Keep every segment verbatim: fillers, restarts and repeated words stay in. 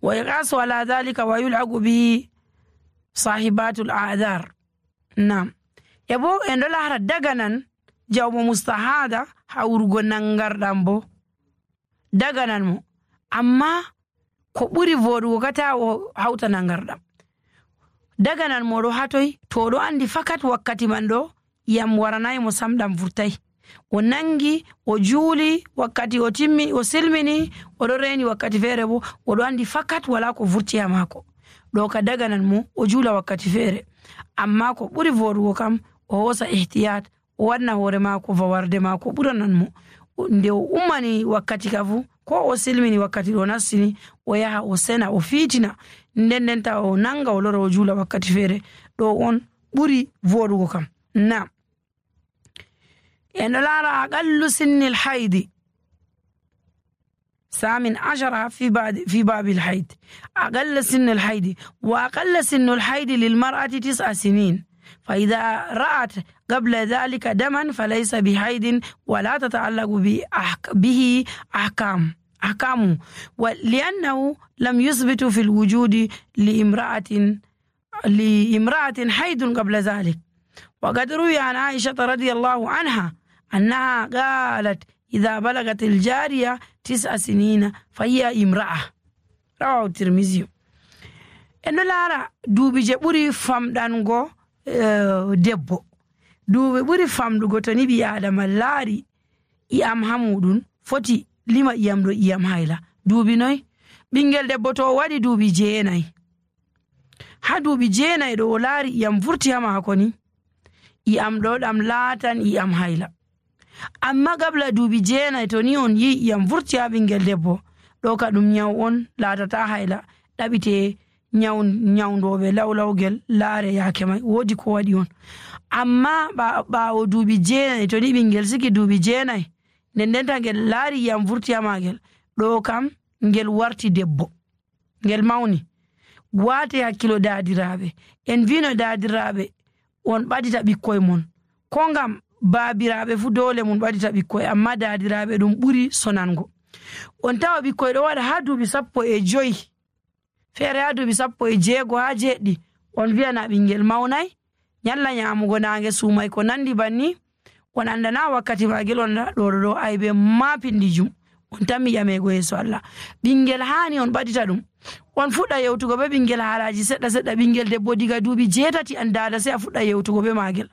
ويقاس على ذلك ويلحق به صاحبات الأعذار. Naam. E bo en ɗo laara daganan jawmo mustahaada hawrugo nangarɗam bo. Daganan mo. Amma ko ɓuri vooɗugo ka taa o hawta nangarɗam. Daganan mo ɗo haa toy? To o ɗo anndi fakat wakkati man ɗo, ƴi'am waranaay mo sam, ɗam vurtaay. O nangi, o juuli, wakkati o timmi, o silmini, o ɗo reeni wakkati feere bo, o ɗo anndi fakat walaa ko vurti haa maako. Ɗo ka daganan mo, o juula wakkati feere. Amma ko ɓuri vooɗugo kam, o hoosa ihtiyat, o waɗna hoore maako vawarde maako ɓuranan mo. O, nde o ummani wakkati ka fu, ko o silmini wakkati ɗo nastini, o yaha o sena, o fiitina. Nden nden ta o nanga, o lora, o juula wakkati feere. Ɗo on ɓuri vooɗugo kam. Naam. En ɗo laara aqallu sinnil haydi. ثامن عشر في بعد، في باب الحيض. أقل سن الحيض. وأقل سن الحيض للمرأة تسع سنين. فإذا رأت قبل ذلك دما فليس بحيض ولا تتعلق بأحك-، به أحكام، أحكامه. ولأنه لم يثبت في الوجود لامرأة، لامرأة حيض قبل ذلك. وقد روي عن عائشة رضي الله عنها أنها قالت: إذا بلغت الجارية تسع سنين فهي امرأة. رواه الترمذي. En ɗo laara duuɓi je ɓuri famɗango, eh, debbo. Duuɓi ɓuri famɗugo to ni ɓii Aadama laari ƴi'am haa muuɗum, foti lima ƴi'am ɗo ƴi'am hayla. Duuɓi noy? Ɓingel debbo to o waɗi duuɓi jeenay. Haa duuɓi jeenay ɗo o laari ƴi'am vurti haa maako ni, ƴi'am ɗo ɗam laatan ƴi'am hayla. Amma gabla duuɓi jeenay, to ni on yi'i ƴi'am vurti haa ɓingel debbo, ɗo ka ɗum nyaw on, laatata hayla, ɗaɓite nyaw-, nyawndooɓe lawlawgel laare yaake may, woodi ko waɗi on. Amma ɓa-, ɓaawo duuɓi jeenay, to ni ɓingel siki duuɓi jeenay, nden ndenta ngel laari ƴi'am vurti haa maagel, ɗo kam ngel warti debbo. Ngel mawni. Waate hakkilo daadiraaɓe. En vino daadiraaɓe on ɓadita ɓikkoy mon. Ko ngam baabiraaɓe fu doole mun ɓadita ɓikkoy, amma daadiraaɓe ɗum ɓuri sonango. On tawa ɓikkoy ɗo waɗa haa duuɓi sappo e joy. Feere haa duuɓi sappo e jeego haa jeeɗiɗi. On vi'ana ɓingel mawnay, nyalla nyaamugo naange suumay ko nandi banni. On anndana wakkati maagel, on na ɗo, ɗo, ɗo aybe ma pindijum. On tammi ƴameego yeeso Allah. Ɓingel haani on ɓadita ɗum. On fuɗɗa yewtugo be ɓingel haalaaji seɗɗa seɗɗa. Ɓingel debbo diga duuɓi jeetati an daada sey a fuɗɗa yewtugo be maagel.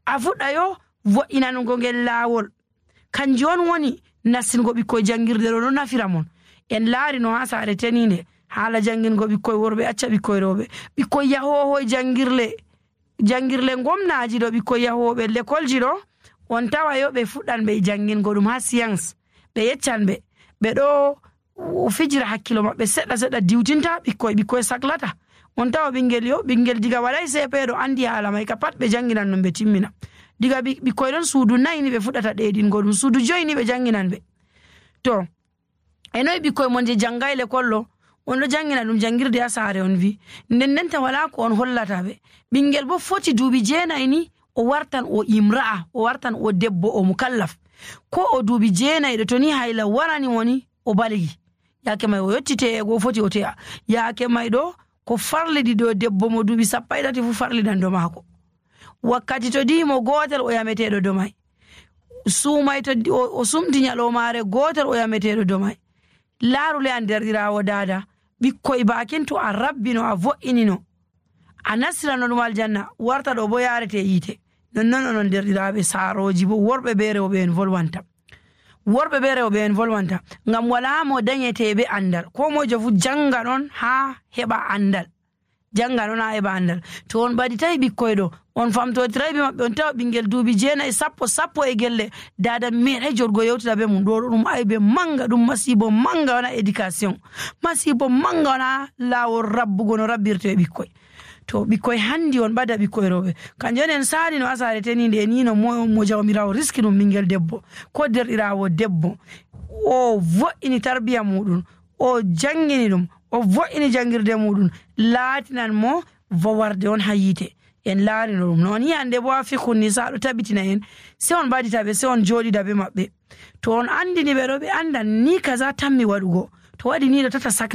A fuɗɗa yo vo'inanugo ngel laawol. Kanjum on woni nastingo ɓikkoy janngirde ɗo, ɗo nafira mon. En laari no haa saare teniinde, haala janngingo ɓikkoy worɓe, acca ɓikkoy rewɓe. Ɓikkoy yahoohoy janngirle, janngirle ngomnaaji ɗo, ɓikkoy yahooɓe lekolji ɗo, on tawa yo ɓe fuɗɗan ɓe janngingo ɗum haa science. Ɓe yeccan ɓe, ɓe ɗo o fijira hakkilo maɓɓe seɗɗa seɗɗa, diwtinta ɓikkoy, ɓikkoy saklata. On tawa ɓingel yo, ɓingel diga waɗay C P ɗo anndi haala may ka pat ɓe jannginan ɗum ɓe timmina. Diga ɓi-, ɓikkoy ɗon suudu nayi ni ɓe fuɗɗata ɗeeɗingo ɗum, suudu joyi ni ɓe jannginan ɓe. To, e noy ɓikkoy mon je janngay lekol ɗo, on ɗo janngina ɗum janngirde haa saare on vi. Nden ndenta walaa ko on hollata ɓe. Ɓingel bo foti duuɓi jeenay ni, o wartan o imra'a, o wartan o debbo, o mukallaf. Ko o duuɓi jeenay ɗo to ni hayla warani mo ni, o baligi. Yaake may o yotti te'ego o foti o te'a. Yaake may ɗo ko farlidi ɗo debbo mo duuɓi sappo e tati fu farlidan do maako. Wakkati to di'i mo gootel o yameteeɗo do may. Suumay to di-, o, o sumti nyaloomaare gootel o yameteeɗo do may. Laaru le an derɗiraawo daada, ɓikkoy baakin to a rabbino a vo'inino. A nastirano ɗum aljanna, warta ɗo bo yaarete yiite. Nonnon onon derɗiraaɓe saarooji bo worɓe be rewɓe en volwanta. Worɓe be rewɓe en volwanta, ngam walaa mo danyete be anndal. Koo moyjo fu jannga ɗon haa heɓa anndal. Jannga ɗon haa heɓa anndal. To on ɓaditay ɓikkoy ɗo, on famtotiray be maɓɓe, on tawa ɓinngel duuɓi jeenay, sappo, sappo e gelle, daada meeɗay joɗgo yewtida be mum. Ɗo, ɗo ɗum aybe mannga, ɗum masiibo mannga wona éducation. Masiibo mannga wona laawol rabbugo no rabbirte ɓikkoy. To ɓikkoy hanndi on ɓada ɓikkoy rewɓe. Kanjum en saali no asaare teniinde e ni no mo, mo Jawmiraawo riski ɗum ɓinngel debbo, ko derɗiraawo debbo. O vo'ini tarbiya muuɗum, o janngini ɗum, o vo'ini janngirde muuɗum, laatinan mo vawarde on haa yiite. En laarino ɗum. No on yi'i hannde bo haa fikhun nisa ɗo tabitina en, sey on ɓadita ɓe, sey on jooɗida be maɓɓe. To on anndini ɓe ɗo, ɓe anndan ni kaza tammi waɗugo. To waɗi ni ɗo tata sakla.